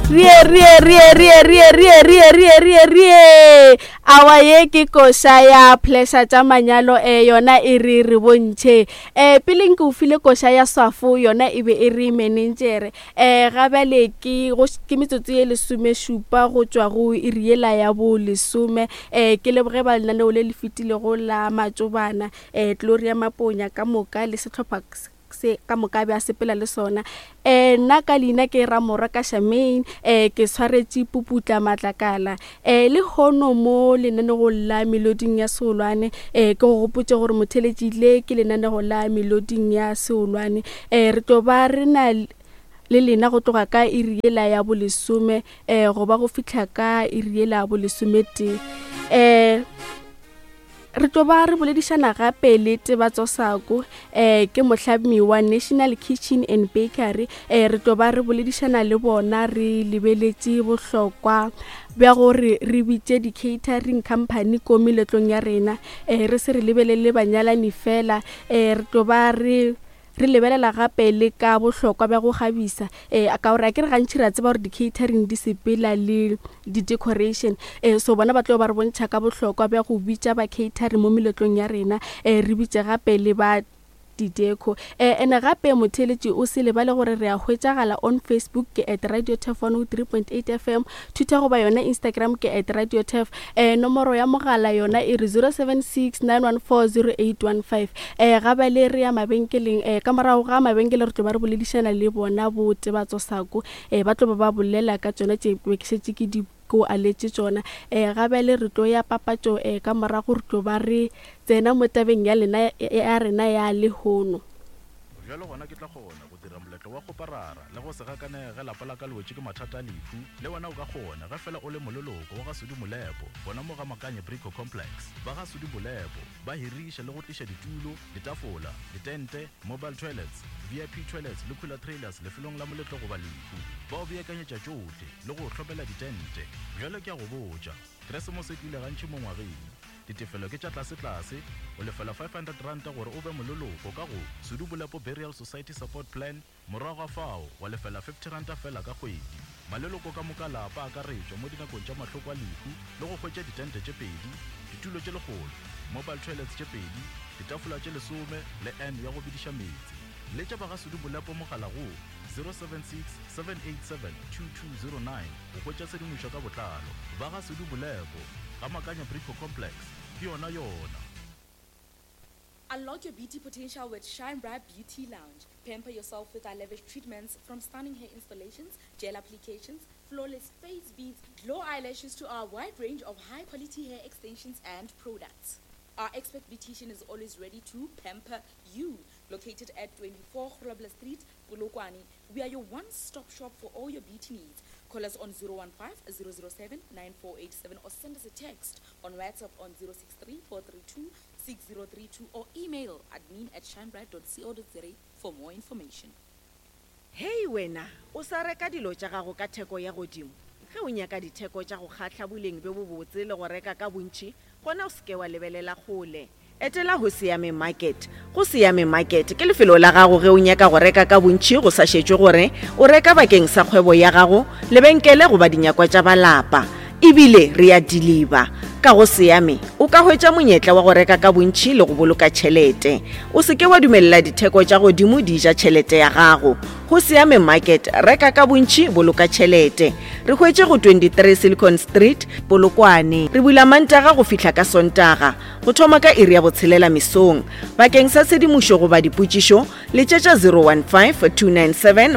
Rie rie rie rie rie rie rie rie rie rie. Awa ye ke koša ya pleasure tša manyalo e yona e re re bontšhe. E pele nke o file koša ya swafo yona e be e re menenjere. E ga bjale ke go ke metsotso ye lesomešupa go tšwa go iri yela ya bo lesome. E ke leboge ba lenaneo le le fetilego la matšobana e Gloria Maponya ka moka le sehlopha se ka moka be a sepela le sona um nna ka leina ke ramorwa ka shamain um ke swaretše puputla matlakala um le hono mo lenanegong la meloding ya seolwane um ke go gopotse gore motheletši le ke lenanego la meloding ya seolwane um re tlo ba re na le lena go tloga ka iri yela ya bolesome um go ba go fihla ka iri yela ya bolesometee um Re tlo ba re boledišana gape le Tebatso Sako, eh, ke mohlami wa National Kitchen and Bakery. Eh, re tlo ba re boledišana le bona re lebeletše bohlokwa bja gore re bitše di-catering company ko meletlong ya rena, eh, re se re lebelele banyalani fela. Eh, re tlo ba re Re lebelela gape le ka bohlokwa bja go kgabisa, ee, ka gore akere gantši re a tseba gore di-catering di sepela le di-decoration. Ee, so bona ba tlo ba re bontšha ka bohlokwa bja go bitša ba catering mo meletlong ya rena, ee, re bitše gape le ba di-deco. Ee, ene gape motheeletši o se lebale gore re a hwetšagala on Facebook ke at Radio Turf 103.8 FM, Twitter goba yona Instagram ke at Radio Turf. Eh, nomoro ya mogala yona e re 076 914 0815. Eh, ga bale re ya mabenkeleng, eh, ka morago ga mabenkele re tlo ba re boledišana le bona bo Tebatso Sako, eh, ba tlo ba ba bolela ka tšona tše be ke šetše ke di ko aletše tšona. Eh, ga bjale re tlo ya papatšo, eh, ka morago re tlo ba re tsena mo tabeng ya lena ya rena ya lehono. Bjalo gona ke tla kgona go dira moletlo wa kgoparara le go se gakanege ge lapa la ka le wetše ke mathata a lehu. Le wena o ka kgona ge fela o le moleloko wa ga Sudi Molepo gona mo ga Makanye Brico Complex. Ba ga Sudi Molepo ba hiriša le go tliša ditulo, ditafola, ditente, mobile toilets, VIP toilets le cooler trailers lefelong la moletlo goba lehu. Ba o beakanyetša tšohle le go o hlomela ditente. Bjale ke a go botša, Keresemose e tlile gantši mo ngwageng. Ditefelo ke tša tlasetlase, o lefela R500 gore o be moleloko ka go Sudu Bolepo Burial Society Support Plan, morago ga fao wa lefela R50 feela ka kgwedi. Maleloko ka moka a lapa a akaretšwa mo dinakong tša mahloko a lehu le go hwetša ditente tše pedi, ditulo tše lekgolo, mobile toilets tše pedi, ditafola tše lesome le urn ya go bediša meetse. Letša ba ga Sudu Bolepo mogala go 076 787 2209 go hwetša tshedimošo ka botlalo. Ba ga Sudu Bolepo. Ga Makanya Brico Complex, ke yona yona. Unlock your beauty potential with Shine Bright Beauty Lounge. Pamper yourself with our lavish treatments from stunning hair installations, gel applications, flawless face beads, glow eyelashes to our wide range of high quality hair extensions and products. Our expert beautician is always ready to pamper you. Located at 24 Grobler Street, Polokwane, we are your one-stop shop for all your beauty needs. Call us on 015 007 9487 or send us a text on WhatsApp on 063 432 6032 or email admin at shinebright.co.za for more information. Hei wena, o sa reka dilo tša gago ka theko ya godimo? Ge o nyaka ditheko tša go kgahla, boleng bjo bobotse le go reka ka bontši, gona o se ke wa lebelela kgole. Etela Hoseyame Market. Hoseyame Market ke lefelo la gago ge o nyaka go reka ka bontši go sa šetšwe gore o reka bakeng sa kgwebo ya gago, lebenkele goba dinyakwa tša ba lapa. E bile re a diliba. Ka Hoseyame o ka hwetša monyetla wa go reka ka bontši le go boloka tšhelete. O se ke wa dumelela ditheko tša godimo di ja tšhelete ya gago. Hoseyame Market, reka ka bontši, boloka tšhelete. Re hwetše go 23 Silicon Street, Polokwane. Re bula Mantaga go fihla ka Sontaga. Go thoma ka iri ya botshelela mesong. Bakeng sa tshedimošo goba dipotšišo, letšetša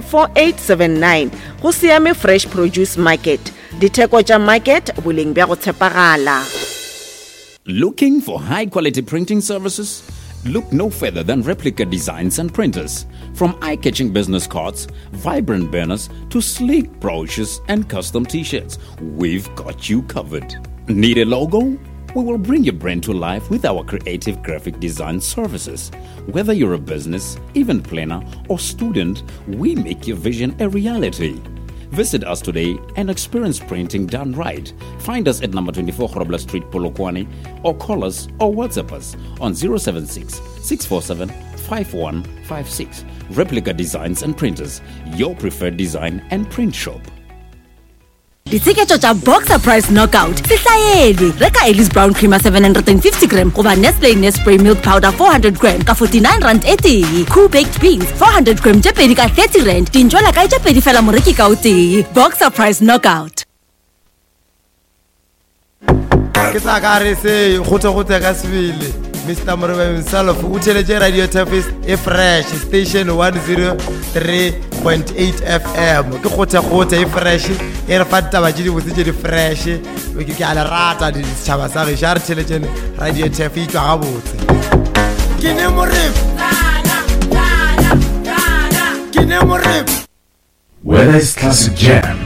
015-297-4879. Go Siame Fresh Produce Market. Ditheko tša market, boleng bja go tshepagala. Looking for high quality printing services? Look no further than Replica Designs and Printers. From eye catching business cards, vibrant banners, to sleek brochures and custom t shirts, we've got you covered. Need a logo? We will bring your brand to life with our creative graphic design services. Whether you're a business, event planner, or student, we make your vision a reality. Visit us today and experience printing done right. Find us at number 24 Grobler Street, Polokwane, or call us or WhatsApp us on 076 647 5156. Replica Designs and Printers, your preferred design and print shop. Ditsheketšo tša Boxer Price Knockout se hlaelwe. Reka Ellis Brown Creamer 750 gram goba Nestle Nespray Milk Powder 400 gram ka 49 rand e tee. Cool Baked Beans 400 gram tše pedi ka 30 rand. Dintšwela kae tše pedi fela moreki ka o tee. Boxer Price Knockout. Ke sa ka re se kgothe-kgothe ka sebele. Mr Moreba himself o theletše Radio Tafis e fresh station 103.8 FM. Ke kgothe-kgothe e fresh e re fa ditaba tše dibotse tše di fresh. Ke ke a le rata setšhaba sa gešo a re theletšeng Radio Taf e tšwa gabotse. Ke ne Moreba. Ke ne Moreba. Whether it's classic jam,